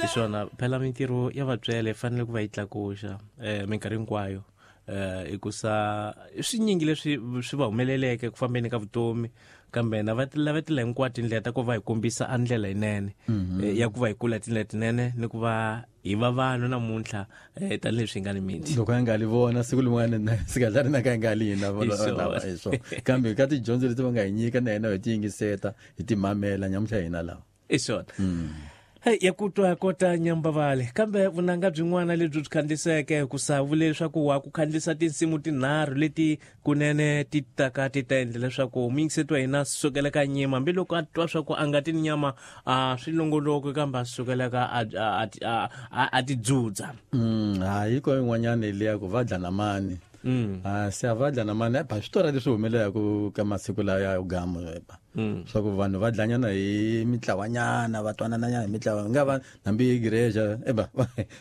Hi swona phela mintirho ya vatswele yi fanele ku va yi tlakuxa minkarhi hinkwayo hikusa i swinyingi leswi swi va humeleleke ku fambeni ka vutomi kambe na va lavetela hinkwato tindlela ta ku va hi kombisa a ndlela yinene ya ku va hi kula tindlela tinene ni ku va hi va vanhu namuntlha tanihileswi hi nga ni miti. Loko a nga li vona siku lin'wana na sika na ka nga li hina vona lava hi swona kambe ka tidyondzo leti va nga hi nyika na hina hi ti yingiseta hi ti mamela nyamuntlha hina lava. I swona. Hey, ya ku twa kota nyambavale kambe vunanga byin'wana lebyi byi khandziseke ku sa vule leswaku wa ku khandzisa tinsimu tinharhu leti kunene ti taka ti ta endla leswaku muyingiseti wa hina sukela ka nyima hambiloko a twa swa ku a nga ti ni nyama a swi longoloki kambe a sukeleka a ti dzudza. Hayi ko yin'wanyana liya ku va dla na mani. A se a va dla na mani ba swi tora leswi humelelaku ka masiku lawa ya gamu ba swa ku vanhu va dlanyana hi mitlawanyana va twanananyana hi mitlawa nga va hambi hi gireja eba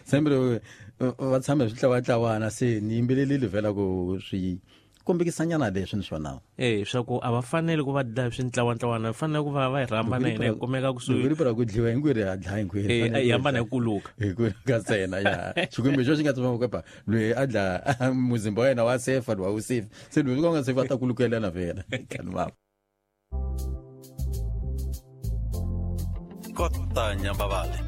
sembere va tshama hi switlawatlawana se ni yimbelelile vhela ku swi kombekisanyana leswi ni swona. Swa ku a va fanele ku va dlaya swintlawantlawana va fanele ku va va hi rhamba na hina hi kumeka kusuhi. Loko ri ku dliwa hinkwerhu ha dlaya hinkwerhu. Hi hambana hi kuluka. Hi kuluka ntsena ya. Xikwembu xo xi nga tsema ku loyi a dla muzimba wa yena wa sefa loyi a wu sefi se loyi ka u nga sefi a ta kulukelana vhela. Kani Kota Nyambavale.